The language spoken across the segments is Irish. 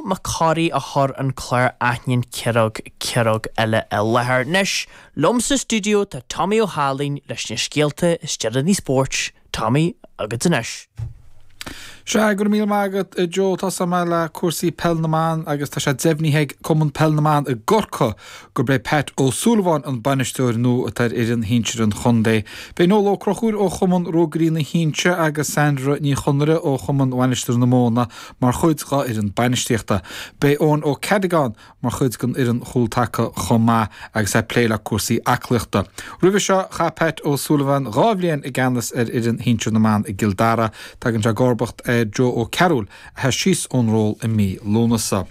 Mac Corraidh a chuir an clár Aithníonn Ciaróg Ciaróg Eile i láthair. Anois, liom sa stiúideo tá Tommy Ó hAilín leis na scéalta is deireanaí spóirt. Tommy, agat anois. Sea, go raibh míle maith agat, a Joe. Tosóidh mé le cúrsaí Peil na mBan agus tá sé deimhnithe ag Cumann Peil na mBan i gCorcaigh gurb é Pat Ó Súilleabháin an bainisteoir nua atá ar fhoireann shinsir an chontae. Beidh Noel Ó Conchúir ó Chumann Ruagairí na hInse agus Sandra Ní Chonaire ó Chumann Mhainistir na Móna mar chuid dhá fhoireann bainistíochta. Beidh Eoin Ó Ceadagáin mar chuid den fhoireann chúltaca chomh maith agus é ag plé le cúrsaí aclaíochta. Roimhe seo, chaith Pat O'Sullivan 2 bhliain i gceannas ar fhoireann shinsir na mban i gCill Dara. Tagann sé i gcomharbacht ar Joe Ó Cearúil a sheas síos ón ról i mí Lúnasa.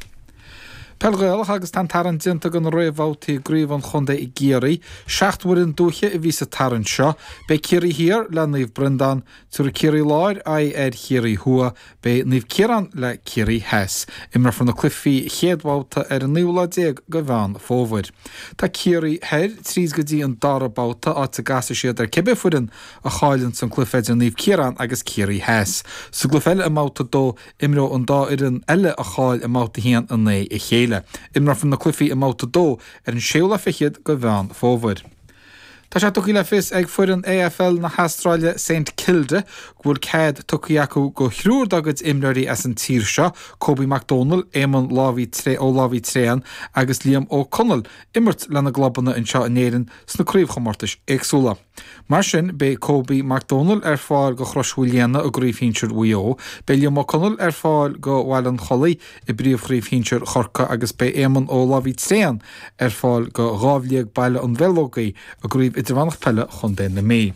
Peil Ghaelach agus tá an tarraingt déanta do na réamhbhabhtaí i gcraobh an chontae i gCiarraí. 7 bhfoireann dúiche a bhí sa tarraingt seo. Beidh Ciarraí Thiar le Naomh Breandán, Tabharfaidh Ciarraí Láir aghaidh ar Chiarraí Thuaidh, beidh Naomh Ciarán le Ciarraí Theas. Imreofar na cluichí chéad bhabhta ar an naoú lá déag de Mheán Fómhair. Tá Ciarraí Thoir tríd go dtí an dara babhta, áit a gcasfaidh siad ar cibé foireann a chailleann san cluiche idir Naomh Ciarán agus Ciarraí Theas. Sa gcluiche eile i mbabhta 2, imreoidh an dá fhoireann eile a chaill i mbabhta 1 in aghaidh a chéile. Imreofar na cluichí i mbabhta 2 ar an séú lá fichead de Mheán Fómhair. Tá sé tugtha le fios ag foireann AFL na hAstráile St Kilda go bhfuil cead tugtha acu do thriúr dá gcuid imreoirí as an tír seo, Kobe Mac Dónaill, Éamonn Ó Lámhaí Tréan agus Liam Ó Conaill, imirt lena gclubanna anseo in Éirinn sna craobhchomórtais éagsúla. Mar sin, beidh Kobe Mac Dónaill ar fáil do Chrois Mhaoilíona i gCraobh Shinsir Mhaigh Eo, beidh Liam Ó Conaill ar fáil do Bhaile an Chollaigh i bPríomhchraobh Shinsir Chorcaí agus beidh Éamonn Ó Lámhaí Tréan ar fáil do Dhámh Liag Baile an Bheileogaigh i gCraobh Idirmheánach Peile Chontae na Mí.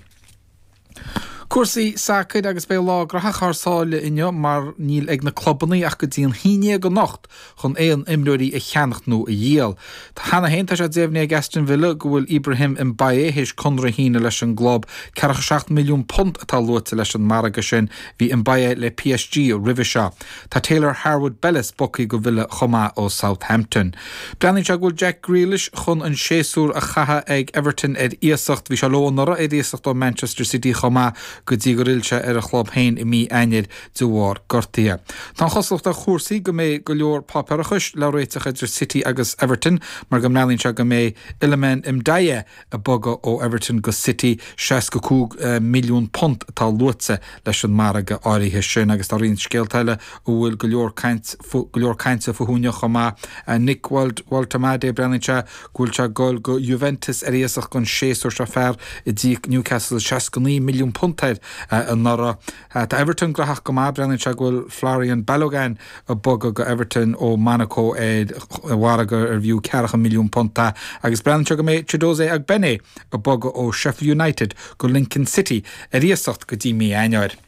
Cúrsaí sacair agus beidh lá graitheach thar sáile inniu mar níl ag na clubanna ach go dtí an haon déag anocht chun aon imreoirí a cheannacht nó a dhíol. Cheana féin tá sé deimhnithe ag Aston Villa go bhfuil Ibrahim Mbaye théis conradh a shíneadh leis an gclub. Ceathracha 7 milliún punt atá luaite leis an margadh sin. Bhí Mbaye le PSG roimhe seo. Tá Taylor Harwood-Bellis bogtha go Villa chomh maith ó Southampton. Breathnaíonn sé go bhfuil Jack Grealish chun an séasúr a chaitheamh ag Everton ar iasacht. Bhí sé leo anuraidh ar iasacht ó Manchester City chomh maith go dtí gur fhill sé ar a chlub féin i mí Eanáir de bharr gortaithe. Tá an chosúlacht ar chúrsaí go mbeidh go leor páipéarachais le réiteach idir City agus Everton mar go mbreathnaíonn sé go mbeidh Iliman Ndiaye ag bogadh ó Everton go City, £65 milliún atá luaite leis an margadh áirithe sin agus tá roinnt scéalta eile a bhfuil go leor caint go leor cainte fúthu inniu chomh maith. Nick Woltemade, breathnaíonn sé go bhfuil sé ag dul go Juventus ar iasacht don séasúr seo, fear a d'íoc Newcastle £69 milliún air anuraidh. Tá Everton graitheach go maith, breathnaíonn sé go bhfuil Folarin Balogun ag bogadh go Everton ó Monaco ar mhargadh ar bhfiú ceathracha milliún punt é agus breathnaíonn sé go mbeidh Chiedozie Ogbene ag bogadh ó Sheffield United go Lincoln City ar iasacht go dtí mí Eanáir.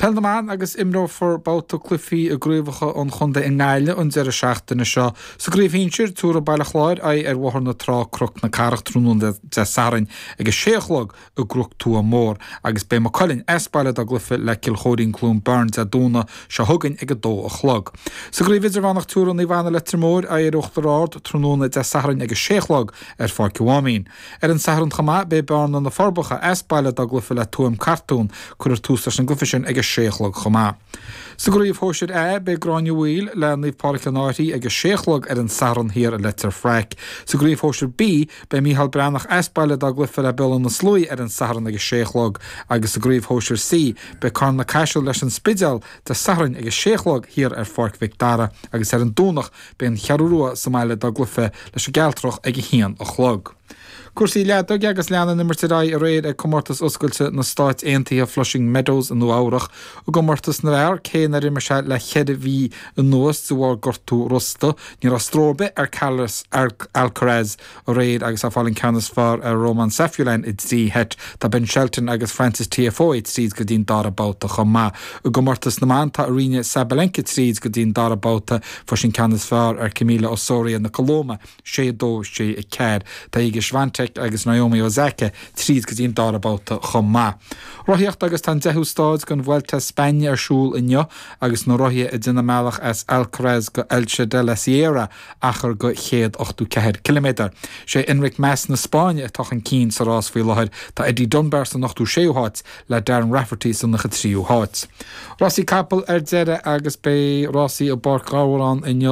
Peil na mBan agus imreofar babhta cluichí i gcraobhacha an chontae i nGaillimh an deireadh seachtaine seo. Sa gcraobh shinsir, tabharfaidh Baile Chláir aghaidh ar Bhóthar na Trá Cnoc na Cathrach tráthnóna Dé Sathairn ag a sé a chlog i gCnoc Tuath Mór agus beidh Maigh Cuilinn as baile dá gcluiche le Cill Chóirín Cluain Bheirn Dé Domhnaigh seo chugainn ag 2 a chlog. Sa gcraobh idirmheánach tabharfaidh Naomh Anna Leitir Móir aghaidh ar Uachtar Ard tráthnóna Dé Sathairn ag 6 a chlog ar Pháirc an Mháimín. Ar an Satharn chomh maith beidh Bearna Na Forbacha as baile dá gcluiche le Tuaim Cartún. Cuirfear tús leis an gcluiche sin ag 6 a chlog chomh maith. Sa gcraobh shóisir A beidh Gráinne Mhaoil le Naomh Pádraig an Fhairche ag 6 a chlog ar an Satharn thiar i Leitir Fraic. Sa gcraobh shóisir B Beidh Micheál Breathnach as baile dá gcluiche le Béal Átha na Sluaighe ar an Satharn ag 6 a chlog agus sa gcraobh shóisir C, beidh Carna-Caiseal leis an Spidéal Dé Sathairn ag 6 a chlog thiar ar Pháirc Mhic Dara agus ar an Domhnach beidh an Cheathrú Rua sa mbaile dá gcluiche leis an gCealtrach ag 1 a chlog. Cúrsaí leadóige agus lean an imirt ar aghaidh aréir ag Comórtas Oscailte na Stáit Aontaithe Flushing Meadows i Nua Eabhrach. I gcomórtas na bhfear, cé nár imir sé le cheithre mhí anuas de bharr gortú rosta, Ní raibh stró ar bith ar Carlos Alcaraz aréir agus é ag fáil an ceann is fearr ar Roman Safiullin i dtrí sheit. Tá Ben Shelton agus Frances Tiafoe tríd go dtí'n dara babhta chomh maith. I gcomórtas na mban tá Aryna Sabalenka tríd go dtí'n dara babhta. Fuair sí an ceann is fearr ar Camila Osorio na Colóime, 6-2, 6-4. Tá Iga. Iga Swiatek agus Naomi Osaka tríd go dtí an dara babhta chomh maith. Rothaíocht agus tá an deichiú stáid den Vuelta a España ar siúl inniu agus na rothaithe ag déanamh a mbealach as Alcaraz go Elche de la Sierra, achar de 184 ciliméadar. Sé Enric Mas na Spáinne atá chun cinn sa rás faoi láthair. Tá Eddie Dunbar san ochtú séú háit le Darren Rafferty san 93ú háit. Rásaí capall ar deireadh agus beidh rásaí i bPáirc Ghabhráin inniu.